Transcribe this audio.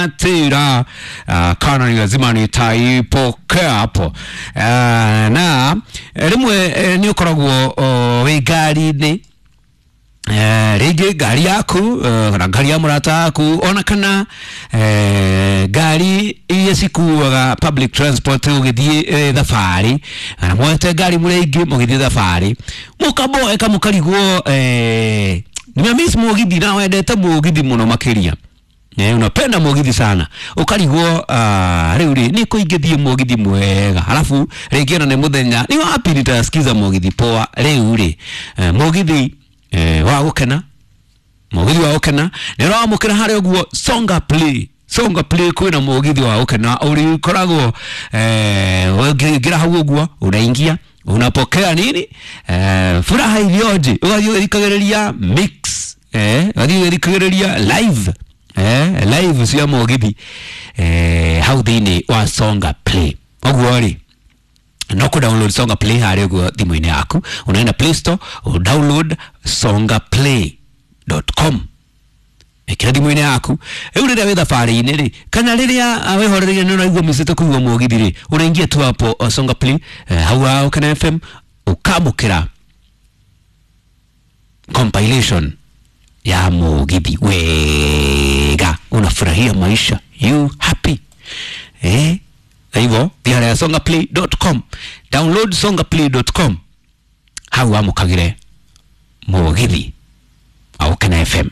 Tira kana ni lazima nitaipokea hapo. Na rimwe ni ukoragwo wi ngari-inĩ, rĩngĩ ngari yaku kana ngari ya mũrata waku, ona kana ngari iria cikuaga public transport ũgĩthiĩ thabarĩ, kana mwete ngari mũrĩ aingĩ mũgĩthiĩ thabarĩ, mũkaboeka mũkarigwo, nimemiss mũgithi na wendete mũgithi mũno makĩria. Unapenda mũgithi sana, ũkarigwo rĩu rĩ nĩ kũ ingĩthiĩ mũgithi mwega, alafu rĩngĩ ona nĩ mũthenya, ni wapi nitasikiza mũgithi poa rĩu rĩ, mũgithi wa gũkena, mũgithi wa gũkena nĩ ũramũkĩra harĩa ũguo Songa Play. Songa Play kwĩna mũgithi wa gũkena ũrĩkoragwo ũngĩingĩra hau ũguo, unaingia unapokea nini, furaha iliyoje, ũgathiĩ ũgĩthikagĩrĩria mix, ũgathiĩ ũgĩthikagĩrĩria live, live cia mũgithi hau thĩinĩ wa Songa Play. Ũguo rĩ, no ku download Songa Play harĩa ũguo thimũ-inĩ yaku, unaenda Play Store, download songaplay.com, ĩkĩra thimũ-inĩ yaku. Rĩu rĩrĩa wĩ thabarĩ-inĩ rĩ, kana rĩrĩa wĩhorereire nĩ ũraigua mĩcĩte kũigua mũgithi rĩ, ũraingia tu hapo Songa Play, hau ha Gũkena FM, ũkamũkĩra compilation ya mũgithi wega, unafurahia maisha, you happy. Hivyo thiĩ harĩa songaplay.com, download songaplay.com, hau wamũkagĩre mũgithi wa Gũkena FM.